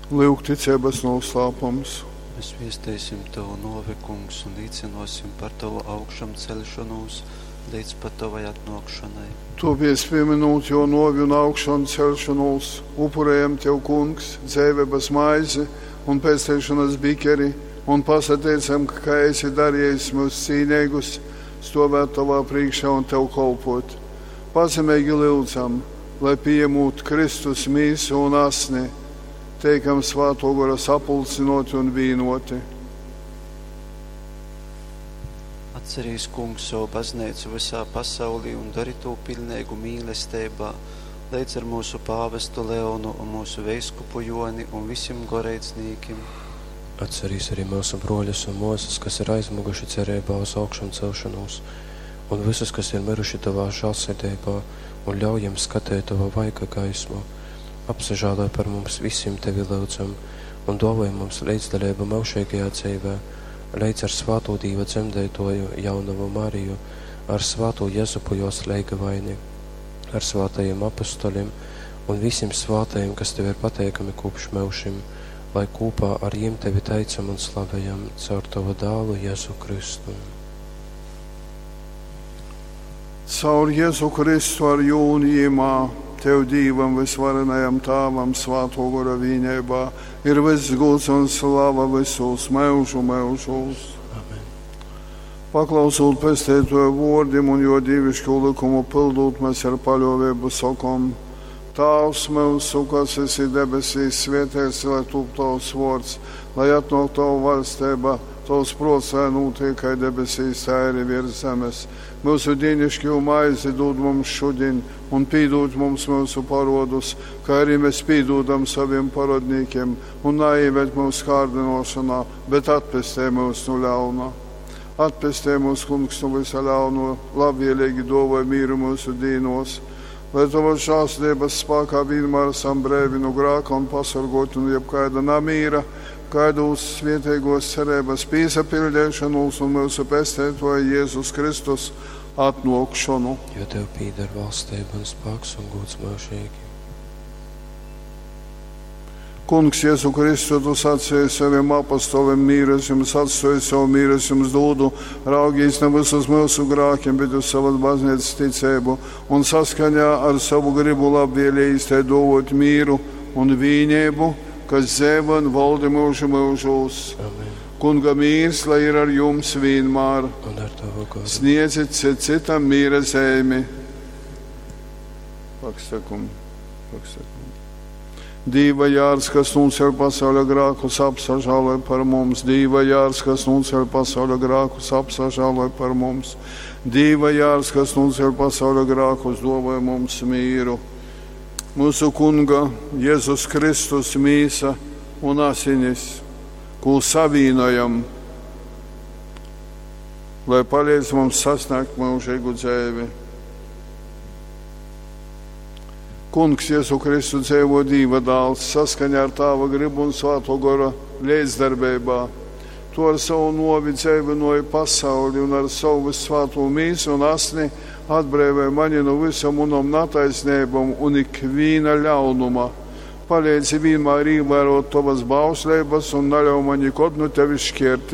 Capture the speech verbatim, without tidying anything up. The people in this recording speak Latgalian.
Lyuk ticeibas nūslāpums. Mēs viesteisim tovu nōvi, Kungs, un līcynōsim par tovu augšamceļšonūs leidz pat tovai atnōkšonai. Tōpēc, pīmynūt jō nōvi un augšanceļšonūs, upurējam tev, Kungs, dzeiveibas maizi un pesteišonas bikeri un pasateicam, ka esi darījis myus cīneigus stovēt tovā priekšā un tev kolpot. Pazemeigi lyudzam, lai pījemūt Kristus mīsu un asni, teikam Svātō Gora sapulcinoti un vīnoti. Atcerīs, Kungs, savu bazneicu visā pasaulī un dari tū piļneigu mīlesteibā, leidz ar mūsu pāvestu Leonu un mūsu veiskupu Joni un visim goreidznīkim. Atcerīs arī mūsu broļus un māsas, kas ir aizmuguši cerībā uz augšamcelšanos, un visus, kas ir miruši tavā žēlsirdībā, un ļauj jiem skatēt tava vaiga gaismu. Apsažāloj par mums visiem tevi lūdzam, un dāvoj mums līdzdaļību mūžīgajā dzīvē, līdz ar svāto Dīva dzemdētoju jaunavu Mariju, ar svāto Jezupu jos leigavaini, ar svātajiem apustuļiem un visiem svātajiem, kas tev ir pateikami kopš mūžim, lai kopā ar jiem tevi teicam un slavējam caur tavu dēlu Jēzu Kristu. Caur Jēzu Kristu ar jūnu jīmā, tev Dīvam visvarenajam Tāvam svāto gora vīnībā ir viss gods un slava visos mūžu mūžos. Amen. Paklausot pestētoja vōrdim un jo dīvišķo likumu pildot, mēs ar paļāvību sakom: Tēvs mūsu, kas esi debesīs, svētīts lai top tavs vārds, lai atnāk tava valstība, tavs prāts, lai notiek kā debesīs, tā arī virs zemes. Mūsu dienišķo maizi dod mums šodien, un pīdod mums mūsu parodus, kā arī mēs pīdodam saviem parodnīkiem, un neieved mūsu kārdinošanā, bet atpestē mūs no ļauna. Atpestē mūs, Kungs, no visa ļauno, labvēlīgi dāvāj mieru mūsu dīnos, lai tavas žēlastības spēkā vienmēr esam brīvi no grēka un pasargoti no jebkāda namīra, gaidot svētīgos cerības pīsapildīšanos un mūsu pestētoja Jēzus Kristus atnākšanu. Jo tev pīder valstība un spēks un gods mūžīgi. Kungs, Jēzu Kristu, tu sacīji saviem apostoliem, mīru es jums atstāju, savu mīru es jums dodu, raugīs nevis uz mūsu grēkiem, bet uz savas baznīcas ticību, un saskaņā ar savu gribu labvēlīgi tai dovot mīru un vīnību, kas dzīvo un valda mūžu mūžos. Amen. Kunga mīrs, lai ir ar jums vienmēr. Un ar tavu goru. Sniedziet cit citam mīra zīmi. Pakstakum, pakstakum. Dīva jārs, kas nocēl pasaules grēkus, apsažāloj par mums. Dīva jārs, kas nocēl pasaules grēkus, apsažāloj par mums. Dīva jārs, kas nocēl pasaules grēkus, dāvāj mums mīru. Mūsu Kunga Jēzus Kristus mīsa un asinis, ko savīnojam, lai palīdz mums sasniegt mūžīgu dzīvi. Kungs Jēzu Kristu dzīvo Dīva dēls, saskaņā ar Tāva gribu un Svēto Gora līdzdarbībā. Tu ar savu novi dzīvinoji pasauli un ar savu visvēto mīsu un asni atbrīvoji mani no visam unam nataisnībām un ikvīna ļaunuma. Palīdzi vienmēr ievērot tavas bausleibas un neļauj man nekad no tevis šķirties.